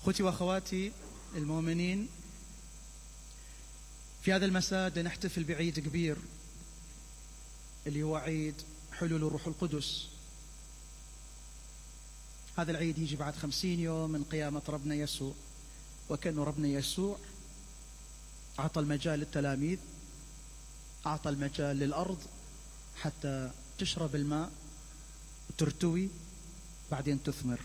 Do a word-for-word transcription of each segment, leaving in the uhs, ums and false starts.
أخوتي وأخواتي المؤمنين، في هذا المساء نحتفل بعيد كبير اللي هو عيد حلول الروح القدس. هذا العيد يجي بعد خمسين يوم من قيامة ربنا يسوع، وكأنه ربنا يسوع أعطى المجال للتلاميذ، أعطى المجال للأرض حتى تشرب الماء وترتوي بعدين تثمر.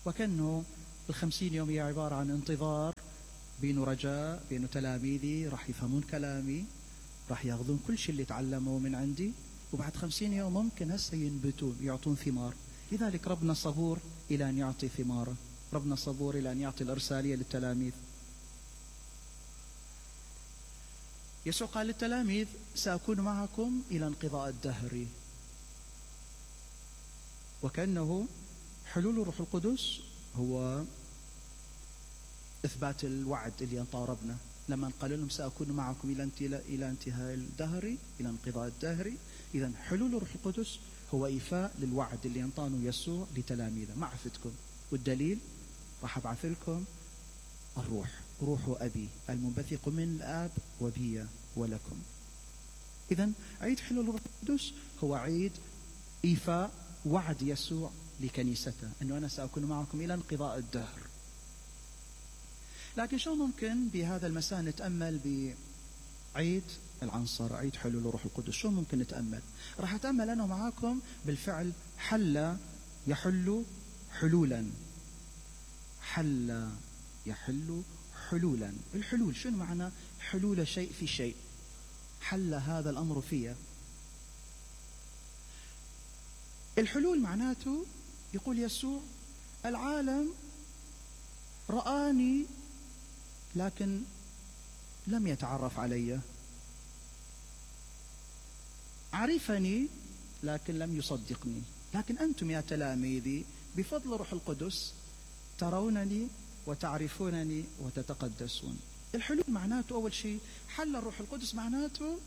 وكأنه الخمسين يوم هي عبارة عن انتظار، بينه رجاء، بينه تلاميذي راح يفهمون كلامي، راح ياخذون كل شيء اللي تعلموه من عندي، وبعد خمسين يوم ممكن هسه ينبتون يعطون ثمار. لذلك ربنا صبور إلى أن يعطي ثماره، ربنا صبور إلى أن يعطي الإرسالية للتلاميذ. يسوع قال للتلاميذ: سأكون معكم إلى انقضاء الدهر. وكأنه حلول الروح القدس هو إثبات الوعد اللي ينطاه ربنا لما قال لهم: سأكون معكم إلى إلى انتهاء الدهر، إلى انقضاء الدهر. إذن حلول الروح القدس هو إيفاء للوعد اللي ينطانه يسوع لتلاميذه: معرفتكم، والدليل راح أبعث لكم الروح، روح أبي المنبثق من الآب وبي ولكم. إذن عيد حلول الروح القدس هو عيد إيفاء وعد يسوع لكنيسته أنه أنا سأكون معكم إلى انقضاء الدهر. لكن شو ممكن بهذا المساء نتأمل بعيد العنصر، عيد حلول الروح القدس؟ شو ممكن نتأمل؟ راح أتأمل أنا معاكم بالفعل حل يحل حلولا. حل يحل حلولا. الحلول شنو معنى حلول شيء في شيء؟ حل هذا الأمر فيه. الحلول معناته يقول يسوع: العالم رآني لكن لم يتعرف علي، عرفني لكن لم يصدقني، لكن أنتم يا تلاميذي بفضل روح القدس ترونني وتعرفونني وتتقدسون. الحلول معناته أول شيء حل الروح القدس، معناته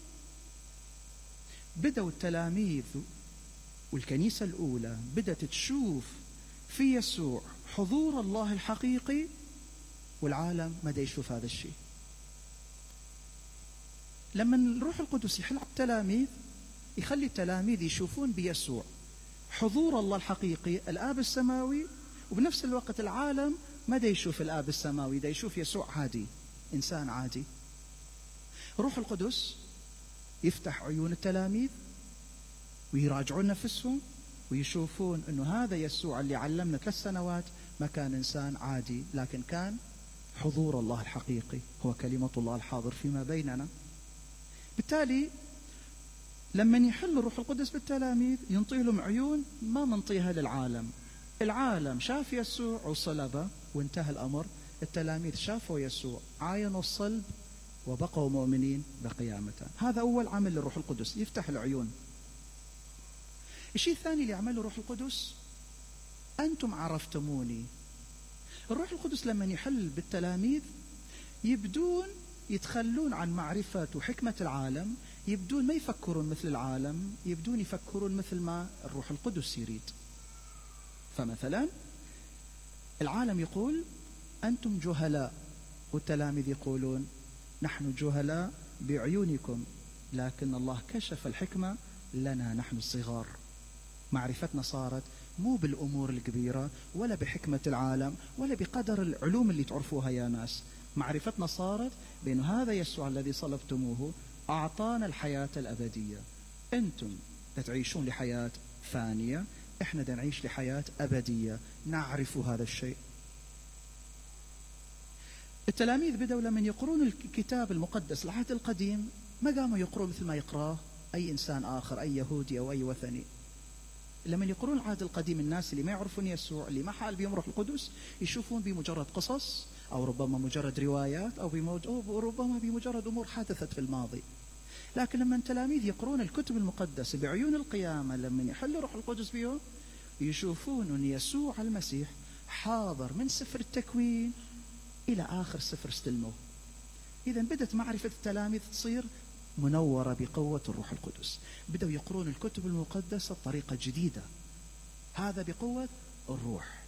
بدأوا التلاميذ والكنيسة الأولى بدأت تشوف في يسوع حضور الله الحقيقي، والعالم ما دا يشوف هذا الشيء. لما الروح القدس يحل على التلاميذ يخلي التلاميذ يشوفون بيسوع حضور الله الحقيقي الآب السماوي، وبنفس الوقت العالم ما دا يشوف الآب السماوي، دا يشوف يسوع عادي، إنسان عادي. روح القدس يفتح عيون التلاميذ ويراجعون نفسهم ويشوفون أنه هذا يسوع اللي علمنا ثلاث سنوات ما كان إنسان عادي، لكن كان حضور الله الحقيقي، هو كلمة الله الحاضر فيما بيننا. بالتالي لما يحل الروح القدس بالتلاميذ ينطي لهم عيون ما منطيها للعالم. العالم شاف يسوع وصلبه وانتهى الأمر، التلاميذ شافوا يسوع، عاينوا الصلب وبقوا مؤمنين بقيامته. هذا أول عمل للروح القدس، يفتح العيون. الشيء الثاني اللي يعمله الروح القدس: أنتم عرفتموني. الروح القدس لما يحل بالتلاميذ يبدون يتخلون عن معرفة وحكمة العالم، يبدون ما يفكرون مثل العالم، يبدون يفكرون مثل ما الروح القدس يريد. فمثلا العالم يقول أنتم جهلاء، والتلاميذ يقولون نحن جهلاء بعيونكم، لكن الله كشف الحكمة لنا نحن الصغار. معرفتنا صارت مو بالأمور الكبيرة ولا بحكمة العالم ولا بقدر العلوم اللي تعرفوها يا ناس، معرفتنا صارت بأن هذا يسوع الذي صلبتموه أعطانا الحياة الأبدية. أنتم تعيشون لحياة فانية، إحنا دا نعيش لحياة أبدية، نعرف هذا الشيء. التلاميذ بدأوا لما يقرون الكتاب المقدس العهد القديم ما قاموا يقروا مثل ما يقراه أي إنسان آخر، أي يهودي أو أي وثني. لما يقرون العهد القديم الناس اللي ما يعرفون يسوع، اللي ما حال بهم روح القدس، يشوفون بمجرد قصص أو ربما مجرد روايات أو, أو ربما بمجرد أمور حدثت في الماضي. لكن لما التلاميذ يقرون الكتب المقدسة بعيون القيامة، لما يحل روح القدس بهم يشوفون أن يسوع المسيح حاضر من سفر التكوين إلى آخر سفر استلموه. إذا بدأت معرفة التلاميذ تصير منورة بقوة الروح القدس، بدأوا يقرون الكتب المقدسة بطريقة جديدة، هذا بقوة الروح.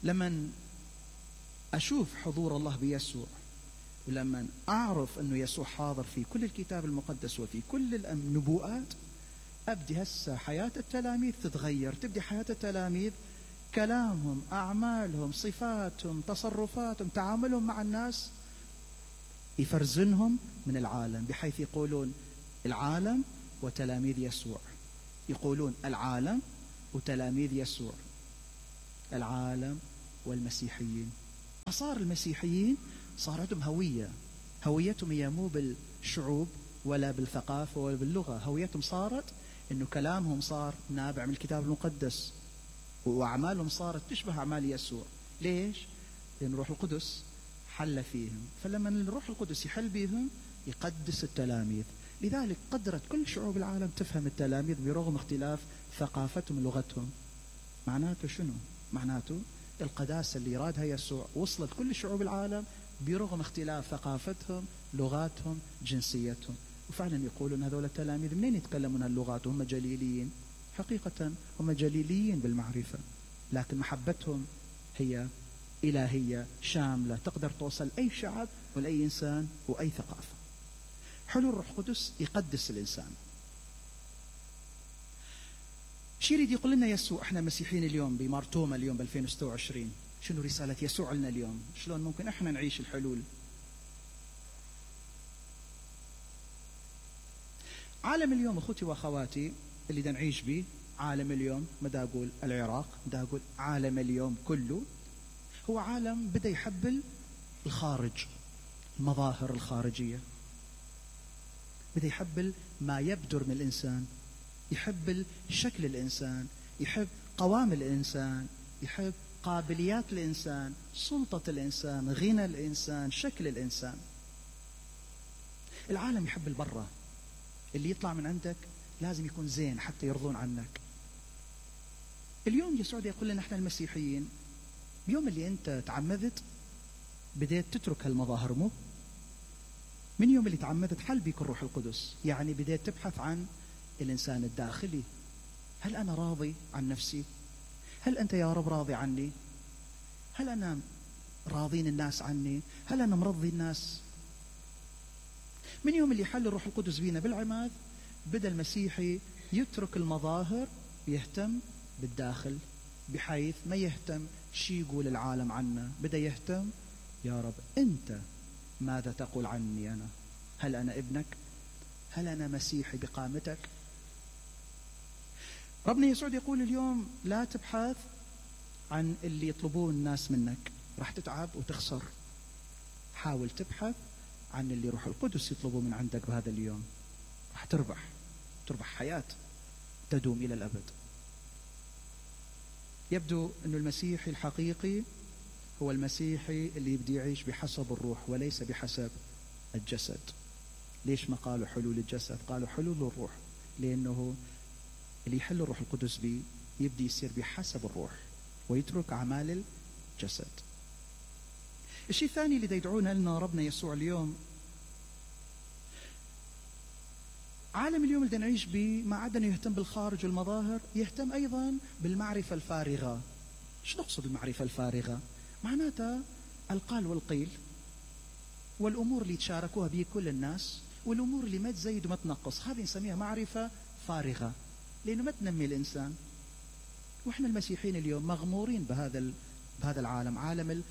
لما أشوف حضور الله بيسوع، ولما أعرف أنه يسوع حاضر في كل الكتاب المقدس وفي كل النبوءات، أبدي هسه حياة التلاميذ تتغير. تبدي حياة التلاميذ كلامهم، أعمالهم، صفاتهم، تصرفاتهم، تعاملهم مع الناس يفرزنهم من العالم، بحيث يقولون العالم وتلاميذ يسوع. يقولون العالم وتلاميذ يسوع، العالم والمسيحيين. صار المسيحيين صار عندهم هوية. هويتهم هي مو بالشعوب ولا بالثقافة ولا باللغة، هويتهم صارت إنه كلامهم صار نابع من الكتاب المقدس، وأعمالهم صارت تشبه أعمال يسوع. ليش؟ لأن الروح القدس حل فيهم. فلما الروح القدس يحل بهم يقدس التلاميذ. لذلك قدرت كل شعوب العالم تفهم التلاميذ برغم اختلاف ثقافتهم ولغتهم. معناته شنو؟ معناته القداسة اللي يرادها يسوع وصلت كل شعوب العالم برغم اختلاف ثقافتهم، لغاتهم، جنسيتهم. وفعلا يقولون هذول التلاميذ منين يتكلمون هاللغات وهم جليليين؟ حقيقة هم جليليين بالمعرفة، لكن محبتهم هي إلهية شاملة تقدر توصل أي شعب ولأي إنسان وأي ثقافة. حلول الروح القدس يقدس الإنسان. شي يريد يقول لنا يسوع احنا مسيحيين اليوم بمارتوما اليوم ب ألفين وستة وعشرين؟ شنو رسالة يسوع لنا اليوم؟ شلون ممكن احنا نعيش الحلول؟ عالم اليوم اخوتي واخواتي اللي دا نعيش به، عالم اليوم ما دا اقول العراق، دا اقول عالم اليوم كله، هو عالم بدا يحب الخارج، المظاهر الخارجية، بدا يحب ما يبدر من الإنسان، يحب شكل الإنسان، يحب قوام الإنسان، يحب قابليات الإنسان، سلطة الإنسان، غنى الإنسان، شكل الإنسان. العالم يحب البرة، اللي يطلع من عندك لازم يكون زين حتى يرضون عنك. اليوم يسوع يقول لنا احنا المسيحيين بيوم اللي انت تعمدت بديت تترك هالمظاهر، مو من يوم اللي تعمدت حل بيك الروح القدس، يعني بديت تبحث عن الإنسان الداخلي. هل أنا راضي عن نفسي؟ هل أنت يا رب راضي عني؟ هل أنا راضين الناس عني؟ هل أنا مرضي الناس؟ من يوم اللي حل الروح القدس بينا بالعماد بدأ المسيحي يترك المظاهر ويهتم بالداخل، بحيث ما يهتم شي يقول العالم عنه، بدأ يهتم يا رب أنت ماذا تقول عني أنا؟ هل أنا ابنك؟ هل أنا مسيحي بقامتك؟ ربنا يسوع يقول اليوم لا تبحث عن اللي يطلبون الناس منك، راح تتعب وتخسر. حاول تبحث عن اللي روح القدس يطلبه من عندك بهذا اليوم، راح تربح، تربح حياة تدوم إلى الأبد. يبدو أن المسيحي الحقيقي هو المسيحي اللي يبدي يعيش بحسب الروح وليس بحسب الجسد. ليش ما قالوا حلول الجسد؟ قالوا حلول الروح، لأنه اللي يحل الروح القدس بي يبدي يصير بحسب الروح ويترك أعمال الجسد. الشيء الثاني اللي يدعونا لنا ربنا يسوع اليوم، عالم اليوم اللي نعيش به ما عدا انه يهتم بالخارج والمظاهر، يهتم ايضا بالمعرفة الفارغة. شو نقصد المعرفة الفارغة؟ معناتها القال والقيل، والامور اللي يتشاركوها به كل الناس، والامور اللي ما تزيد وما تنقص، هذه نسميها معرفة فارغة، لانه ما تنمي الانسان. واحنا المسيحيين اليوم مغمورين بهذا ال... بهذا العالم، عالم ال...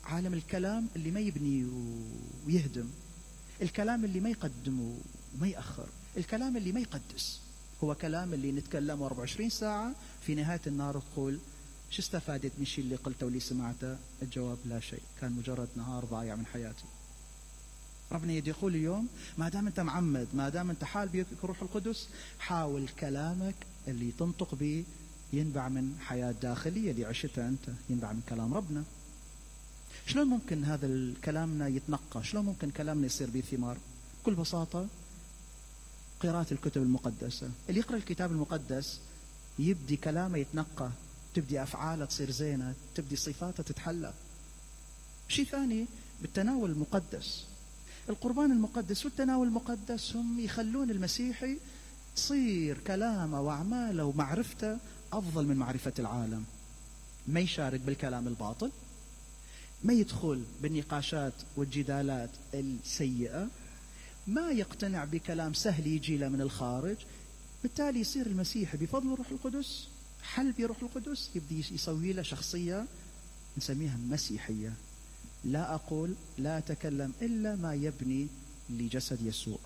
عالم الكلام اللي ما يبني ويهدم، الكلام اللي ما يقدم وما يأخر، الكلام اللي ما يقدس. هو كلام اللي نتكلمه أربعة وعشرين ساعة، في نهاية النهار تقول شو استفادت من الشيء اللي قلته واللي سمعته؟ الجواب لا شيء، كان مجرد نهار ضايع من حياتي. ربنا يدي يقول اليوم ما دام انت معمد، ما دام انت حال بيك روح القدس، حاول كلامك اللي تنطق به ينبع من حياة داخلية اللي عشتها انت، ينبع من كلام ربنا. شلون ممكن هذا الكلامنا يتنقى؟ شلون ممكن كلامنا يصير به ثمار؟ بكل بساطة قراءة الكتب المقدسة. اللي يقرأ الكتاب المقدس يبدي كلامه يتنقى، تبدي أفعاله تصير زينة، تبدي صفاته تتحلى. شيء ثاني بالتناول المقدس، القربان المقدس والتناول المقدس هم يخلون المسيحي تصير كلامه وأعماله ومعرفته أفضل من معرفة العالم. ما يشارك بالكلام الباطل، ما يدخل بالنقاشات والجدالات السيئة، ما يقتنع بكلام سهل يجي له من الخارج. بالتالي يصير المسيح بفضل الروح القدس، حل بروح القدس، يبدي يسوي له شخصية نسميها مسيحية. لا أقول لا أتكلم إلا ما يبني لجسد يسوع.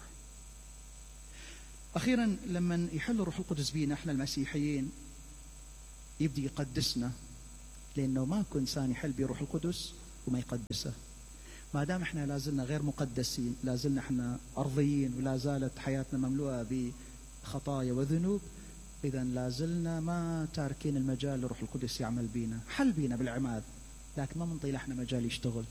أخيرا لما يحل الروح القدس بينا احنا المسيحيين يبدي يقدسنا، لأنه ماكو إنسان يحل بروح القدس وما يقدسه. ما دام احنا لازلنا غير مقدسين، لازلنا احنا أرضيين، ولا زالت حياتنا مملوءة بخطايا وذنوب، إذا لازلنا ما تاركين المجال لروح القدس يعمل بينا. حل بينا بالعماد، لكن ما منطي احنا مجال يشتغل.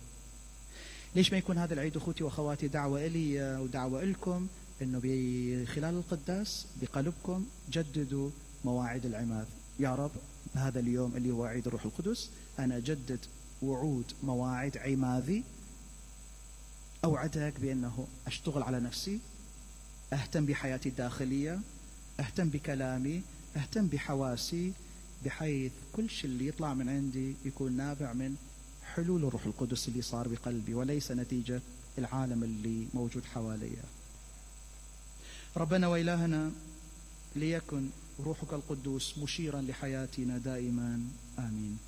ليش ما يكون هذا العيد أخوتي وأخواتي دعوة إلي ودعوة إلكم، إنه بخلال القداس بقلبكم جددوا مواعيد العماد. يا رب هذا اليوم اللي هو عيد الروح القدس أنا أجدد وعود مواعيد عماذي، أوعدك بأنه أشتغل على نفسي، أهتم بحياتي الداخلية، أهتم بكلامي، أهتم بحواسي، بحيث كل شيء اللي يطلع من عندي يكون نابع من حلول الروح القدس اللي صار بقلبي، وليس نتيجة العالم اللي موجود حواليا. ربنا وإلهنا، ليكن روحك القدوس مشيرا لحياتنا دائما. آمين.